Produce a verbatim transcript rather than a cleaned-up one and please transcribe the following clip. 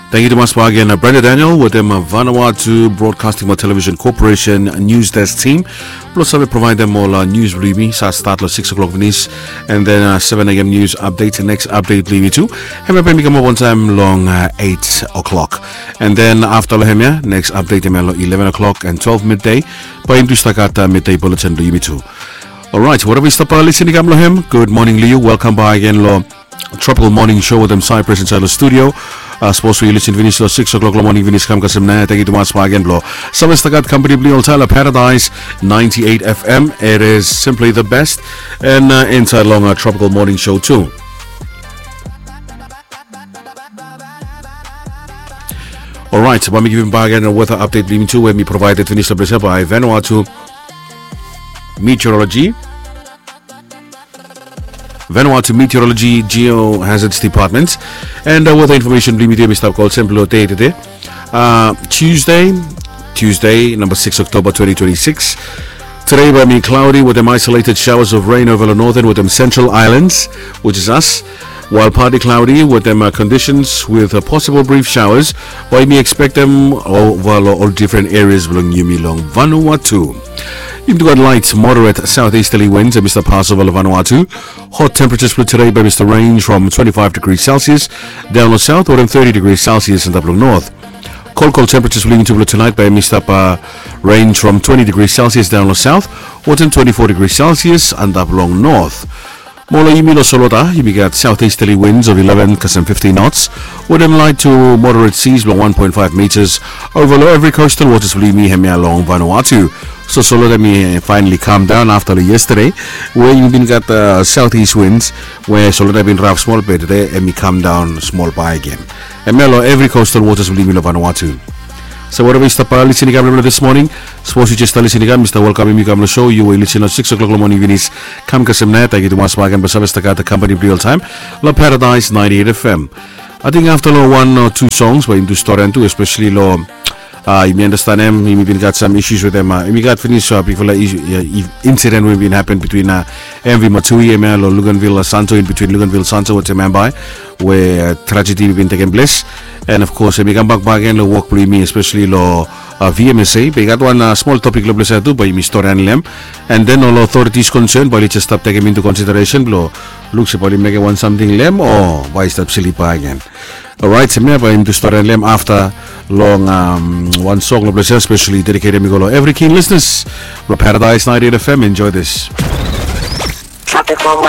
Tangkiu tumas bak gen, Brenda Daniel wetem Vanuatu Broadcasting Television Corporation News Desk Team blong save provaedem ol nius blong yumi. Sa stat long sikis o'klok finis, and then seven a.m. news update. Next update blong yumi tu, hemia bae i kamap on time long eight o'clock, and then afta long hemia, next update hemia long eleven o'clock and twelve midday. Bae i tu stap gat midday bulletin blong yumi tu. Alright, whatever i stap lisin i kam long hem, good morning long yu. Welcome back again long Tropical Morning Show wetem Cyprus insaed long studio. Sapos we yu lisin finis long sikis o'klok long moning finis kam kasem naoia, tangkiu tumas bak gen blong save stap gat kampani blong yu oltaem long Paradise ninety-eight F M. It is simply the best. And insaed long Tropical Morning Show tu. Alright, bae mi givim bak gen weather update blong yumi tu we mi provaeded finis long ples ia bae Vanuatu Meteorology. Vanuatu Meteorology Geohazards Department. And weather information blong yumi tu ya mi stap go olsem blong dei tede, Tuesday, Tuesday, number six October twenty twenty-six. Today bae i cloudy wetem isolated showers of rain over the northern wetem central islands, which is us, while partly cloudy wetem conditions with possible brief showers. Bae yumi expectem over long ol different areas blong yumi long Vanuatu. Yumi tu gat light moderate southeasterly winds ya mi stap pass over long Vanuatu. Hot temperatures blong today bae i stap range from twenty-five degrees Celsius daon long south wetem thirty degrees Celsius antap long north. Kolkol temperatures blong yumi tu blong tunaet bae i stap range from twenty degrees Celsius daon long south wetem twenty-four degrees Celsius antap long north. Mo long yumi long Solosta yumi gat southeasterly winds of eleven kasem fifteen knots wetem light to moderate seas blong one point five meters over long evri coastal waters blong yumi hemia long Vanuatu. So Solosta hemi finally calm down afta long yesterday we yumi bin gat southeast winds we Solosta bin raf smol be tede hemi calm down smol bae gen. Hemia long evri coastal waters blong yumi long Vanuatu. So whatever i stap lisin i kam long this morning, sapos yu jes stap lisin i kam, mi stap welkamem yu kam long show. Yu we yu lisin long sikis o'klok long moning finis kam kasem naoia, tangkiu tumas bak gen blong save stap gat kampani blong yu oltaem long Paradise ninety-eight F M. Ating afta long wan o tu songs bae yumi tu storian tu, especially long yumi andastanem yumi bin gat sam issues wetem, yumi gat finis bigfala incident we bin hapen bitwin M V Matui hemia long Luganville Santo, in between Luganville Santo wetem Mumbai, we tragedy bin tekem ples. And of course hemi kambak bak gen long wok blong yumi, especially long V M S A. Be i gat wan smol topik long ples ia tu bae yumi storian long hem. And then ol authorities concern bae oli jes stap tekem into consideration blong luk se bae oli mekem wan samting long hem o bae i stap slip bak gen. Alright, hemia bae yumi tu storian long hem afta long wan song long ples ia, especially dedicated mi go long evri keen listeners blong Paradise ninety-eight F M. Enjoy this. Tropical